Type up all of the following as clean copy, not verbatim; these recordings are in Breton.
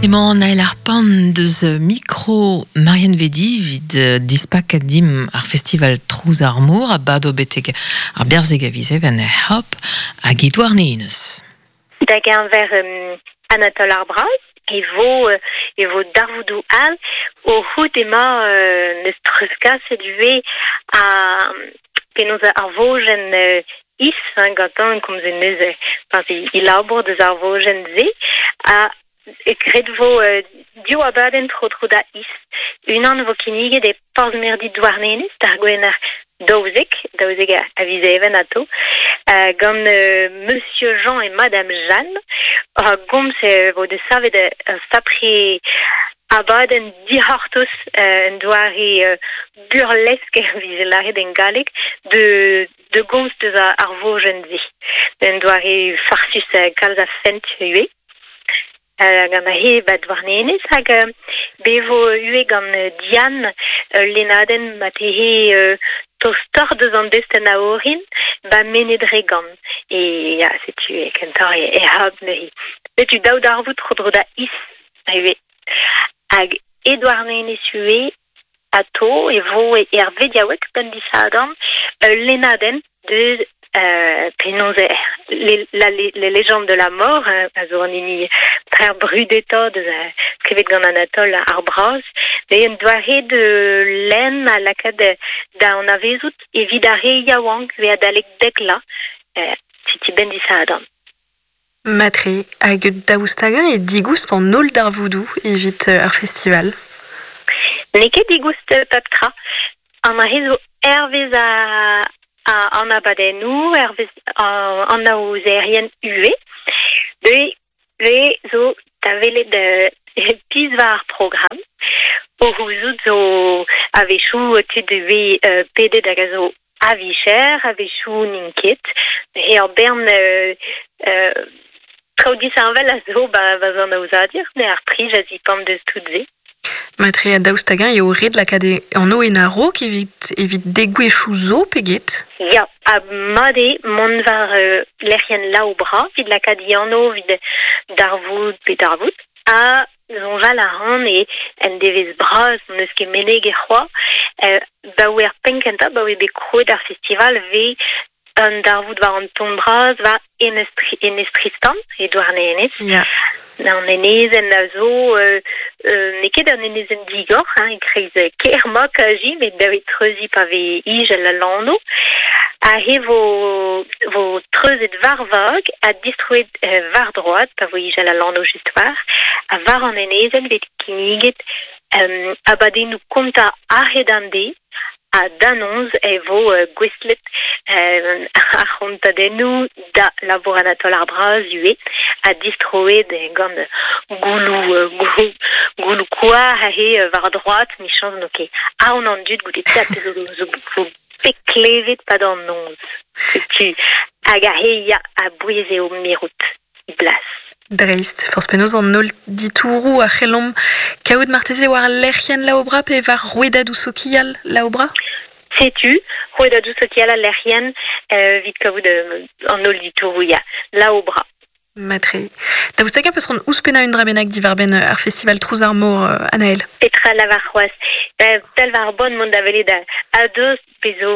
Emañ Anaël ar Pan deus mikro Marianne Vedi evit dispakat dimp ar festival Trouz ar Mor a bado betek ar berzeg a viz Even er C'hab hag e Douarnenez. Da geñver Anatole ar Braz e vo e vo darvoudoù all o c'hoût emañ n'eus treuzkaset ivez a penaos ar vojenn is hein, gantañ komzet neuze pas e labour deus ar vojenn-se ha graet vo div abadenn tro-dro da Is. Unan vo kinniget e Porzh-Mirdi Douarnenez d'ar Gwener 12, 12 a viz Even atao, gant Monsieur Jean et Madame Jeanne. A gomz e vo desavet ur sapre abadenn dic'hortoz un doare burlesk vije lâret en galleg de de gomz deus ar vojenn-se. Un doare farsus kalz a fent ivez. Gant he ba Douarnenez hag be vo ivez gant Diane ul lennadenn ma tehe tostoc'h deus an destenn a orin ba Mened-Regan. E ya, setu e kentoc'h e hab neuze. Setu daou darvoud tro-dro da Is ivez. Hag e Douarnenez ivez Atao e vo er vediaoueg benn disadorn ul lennadenn deus penaos la, les légendes de la mort a zo an hini trec'h brudetañ deus skrivet gant Anatole ar Braz. Met un doare de lenn a lakaat da anavezout evit ar re yaouank ve adalek dek la setu benn disadorn. Matre, hag daoust hag-eñ eo digoust an holl darvoudoù evit ar festival? N'eo ket digoust pep tra. An aze zo hervez an abadennoù, hervez an aozerien ivez. Deuet zo da welet pizh war ar programm. O c'houzout zo a-wechoù tud 'vez pedet hag a zo A-vicher, a-wechoù n'int ket. Ur bern traoù disheñvel a zo ba va aozadur, met ar prij a zipant deus tout se. Matre, daoust hag-eñ eo ret lakaat e anv en a-raok evit evit degouezhioù zo pe get? Ya, ha mat eo mont war lec'hienn Laobra evit lakaat e anv evit darvoud pe darvoud. Ha Soñjal a ran e en devezh bras n'eus ket meneget c'hoazh. Baoe ar penn-kentañ, baoe bet krouet ar festival, 'vez un darvoud war an ton bras war Enez, Enez Tristan, e Douarnenez. Ya. An enezenn a zo n'eo ket un enezenn digor, hein, e-kreiz kêr Makaji, met da treuziñ pa vez ijel al lanv. Aze vo, vo treuzet war vag ha distroet war droad pa vo ijel al lanv just war. Ha war an enezenn 'vez kinniget abadennoù kontañ a-hed an deiz ha da noz e vo gouestlet ar c'hontadennoù da labour Anatole ar Braz ivez ha distroet gant gouloù gouloù koar aze war droad 'michañs n'o ket aon an dud goude pezh zo zo bet klevet 'pad an noz. Setu hag aze ya a-bouez eo mirout e blas. Dreist, forzh penaos an holl ditouroù a c'hellomp kaout marteze war lec'hienn Laobra pe war rouedadoù sokial Laobra? Setu, rouedadoù sokial al lec'hienn evit kaout an holl ditouroù, ya, Laobra. Matre. Daoust hag-eñ peus c'hoant ouzhpennañ un dra bennak diwar-benn ar festival Trouz ar Mor, Anaël? Petra lavar c'hoazh? Tal war bon mont da welet a-dost pe zo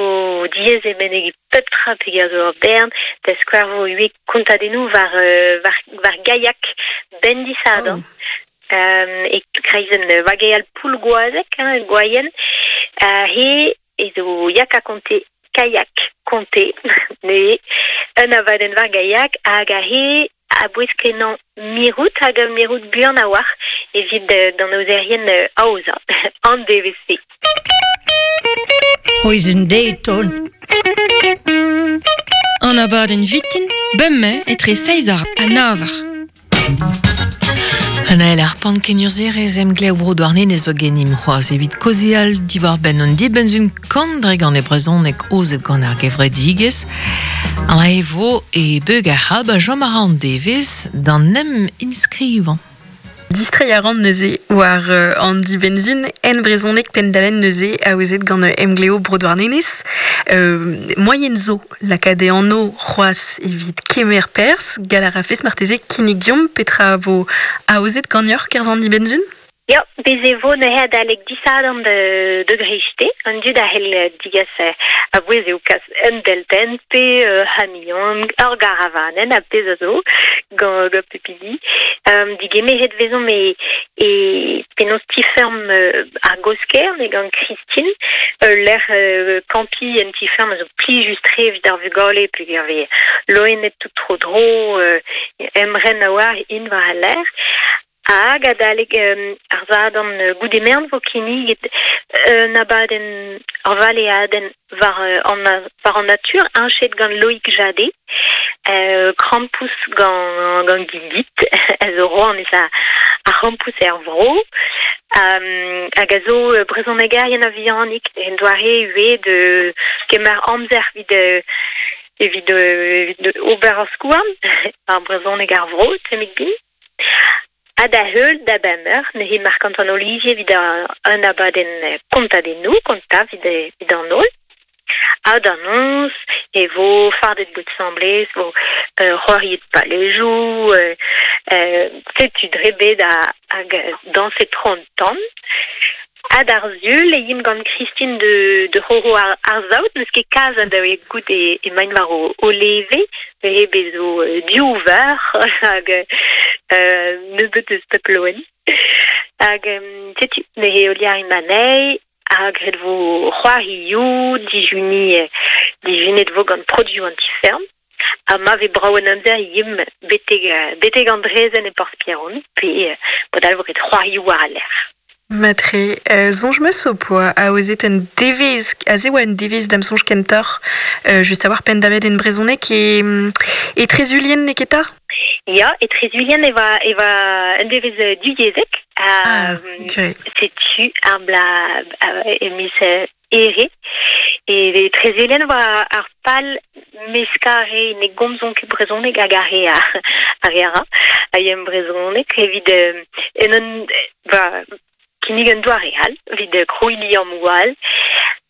diaes e menegi pep tra peger zo ur bern, da skouer vo ivez kontadennoù war, war, war gaiak benn disadorn. Oh. E kreizenn vageal Poulgoazeg, hein, Gwaien. He e zo Yaka Conte Kayak Conte neuze un abadenn war gaiak hag aze a-bouez kenañ mirout hag mirout buan a-walc'h evit d'an aozerien aozañ an devezh-se. C'hwezh deiz An abadenn vitin, bemdez etre seizh ha nav eur. Anaël ar pan kenurzherez emglev Bro Douarnenez zo genimp c'hoazh evit kaozeal diwar-benn an dibenn-sun kant-dregont e brezhoneg aozet gant ar gevredigezh. An e vo e beug ar c'hab a chom a ra an devezh d'an em inskrivañ. Distreiñ a ran neuze war an dibenn-sizhun en brezhoneg penn-da-benn neuze aozet gant Emgleo Bro Douarnenez. Moaien zo lakaat e anv c'hoazh evit kemer perzh. Gall a rafes marteze kinnig deomp petra vo aozet ganeoc'h 'kerzh an dibenn-sizhun? Ya, bez e vo neuze adalek disadorn da greisteiz. An dud a c'hell digas a-bouez eo kas un deltenn pe ur c'hamion, ur garavanenn ha pezh a zo gant pep hini. Digemeret vezomp e penaos ti-feurm ar Gosker gant Christine. Ul lec'h kampiñ en ti-feurm a zo plijus-tre evit ar vugale peogwir vez loened tout tro-dro, emren a-walc'h int war al lec'h. Hag adalek ar Sadorn goude-merenn 'vo kinniget un abadenn, ur valeadenn war an war an natur heñchet gant Loïc Jadé, krampouezh gant gant Gilgit, a zo rouanez ar c'hrampouezh er vro, hag a zo brezhonegerien a-vihanik en doare ivez de kemer amzer evit evit evit ober ar skouarn, ar brezhoneg ar vro, tammig bin. Ha da heul da bemp eur neuze Marc-Antoine Olivier evit un abadenn kontadennoù, kontañ evit an holl. Ha da noz e vo fardet bout asambles, vo c'hoariet palejoù, setu dre bet hag dañset tro an tan. Ha d'ar Sul e yimp gant Christine de c'horo ar saout, n'eus ket kalz a daou goût emaint war o leve, neuze bez zo div veur hag nebeut eus pep loen. Hag setu, neuze heuliañ anezhi, ha graet vo c'hoarioù, dijuniñ, dijunet vo gant produoù an ti-feurm. Ha ma vez brav an amzer e yimp betek an draezhenn e Porzh-Pierron, pe padal vo graet c'hoarioù war al lec'h. Matre, soñj 'meus ho poa aozet un devezh, aze oa un devezh da'm soñj kentoc'h, just a-walc'h penn-da-benn en brezhoneg e e Trezulien n'eo ket 'ta? Ya, e Trezulien e oa e oa un devezh divyezhek. Ah, ok. Setu ar bloaz e miz Here. E Trezelen war ar pal meskañ ar re ne gomzont ket brezhoneg hag ar re ar re a ra a ya en brezhoneg evit en un ba kinnig un doare all evit krouiñ liammoù all.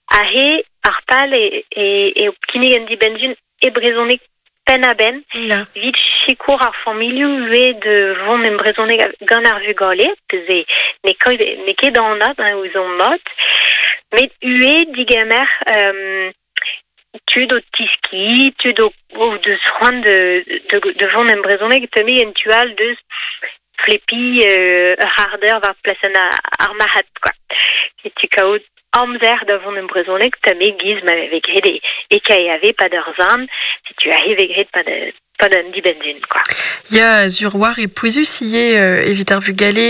Aze ar pal eo kinnig un dibenn-sizhun e brezhoneg penn-ha-benn evit sikour ar familhoù ivez da vont en brezhoneg gant ar vugale, peus n'eo ket anat ouzhomp mat, met ivez digemer tud o tiskiñ, tud o deus c'hoant da vont en brezhoneg, teumet en tu all deus flepiñ ur c'hardeur war plasenn ar marc'had quoi. Setu kaout amzer da vont en brezhoneg tamm e-giz ma vez graet e KAV pad ur zan, setu aze vez graet pad pad un dibenn-sizhun quoi. Ya, sur war e pouezus ivez evit ar vugale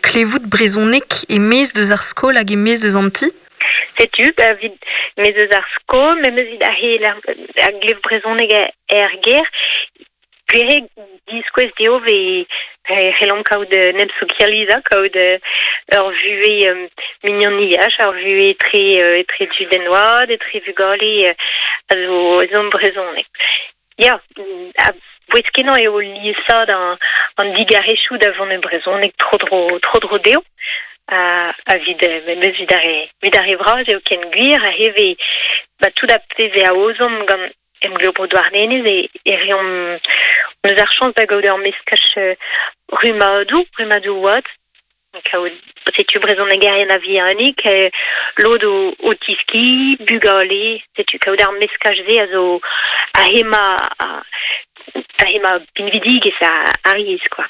klevout brezhoneg e-maez deus ar skol hag e-maez deus an ti. Setu, ba, evit maez eus ar skol, memes evit ar a glev brezhoneg er gêr, Gwir eo diskouez dezho e c'hellomp kaout un emsokializañ, kaout ur vuhez mignoniaj, ur vuhez etre etre tud en oad, etre vugale a zo ezhomm brezhoneg. Ya, a-bouez-kenañ eo liesaat an digarezioù da vont e brezhoneg tro-dro tro-dro dezho. Ha evit memes evit ar re evit ar re vras eo ken gwir aze 'vez ba tout ar pezh e aozomp gant Emglev Bro Douarnenez e reomp hon eus ar chañs da gaout ur meskaj rummadoù, rummadoù oad. Kaout setu brezhonegerien a-vihanik, lod o tiskiñ, bugale, setu kaout ar meskaj-se a zo a hemañ a hemañ pinvidigezh ar yezh quoi.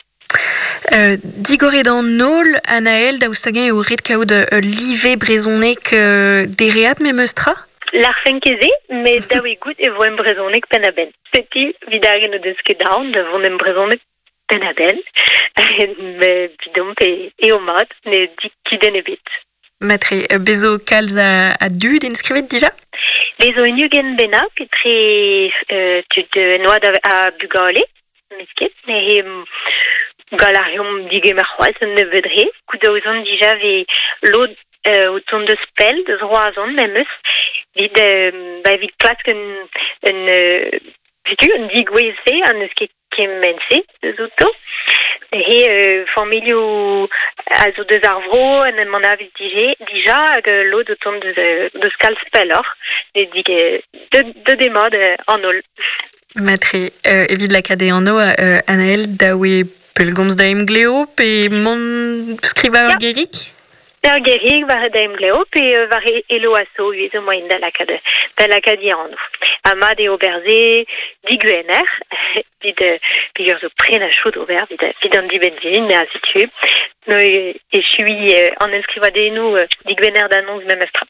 Digoret an holl, Anaël, daoust hag-eñ eo ret kaout ul live brezhoneg dereat memes tra? Lârfen ket se, met dav eo goût e vo en brezhoneg penn-ha-benn. Setu, evit ar re n'o deus ket aon da vont en brezhoneg penn-ha-benn, met evidomp eo mat, ne di kudenn ebet. Matre, bez zo kalz a dud inskrivet dija? Bez zo un ugent bennak etre tud en oad ha bugale, n'eus ket. Neuze gall a reomp digemer c'hoazh un nebeud re. Goudaozon dija vez lod o tont deus pell, deus Roazhon memes, evit ba evit klask un un setu un digouezh-se ha n'eus ket kement-se deus outo. He familhoù a zo deus ar vro en em anavez dije, dija hag lod o tont deus kalz pelloc'h, de de demad an holl. Matre, evit lakaat e anv Anaël daoue pellgomz da emgleo pe mont skrivañ ur gerig? Ur gerig war da emgleo pe war elo aso ivez zo moaien da lakaat da lakaat e anv. Ha mat eo ober se digwener, evit peogwir zo prenañ chaud ober evit an dibenn-sizhun, me a setu. Neuze echuiñ an enskrivadennoù digwener da noz memestra.